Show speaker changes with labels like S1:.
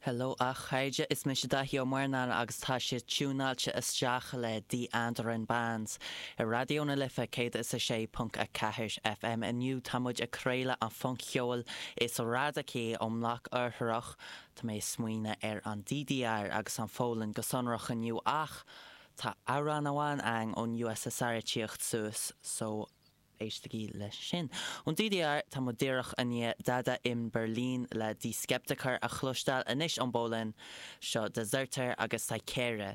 S1: Hello a chairde, is mise Daithí Ó Murnáin agus tá sibh tiúnáilte isteach le Die Anderen Bands ar Raidió na Life 106.4 FM. Inniu tá muid ag craoladh an phunc-cheoil is radacaí ón mbloc oirthearach. Tá mé ag smaoineamh ar an DDR agus an Pholainn go sonrach inniu ach tá amhrán amháin againn ón USSR ag tíocht suas so Éistigí leis sin. Ón DDR, tá muid díreach i ndiaidh Dada in Berlin le Die Skeptiker a chloisteáil anois ón bPolainn. Seo Dezerter agus Cykera.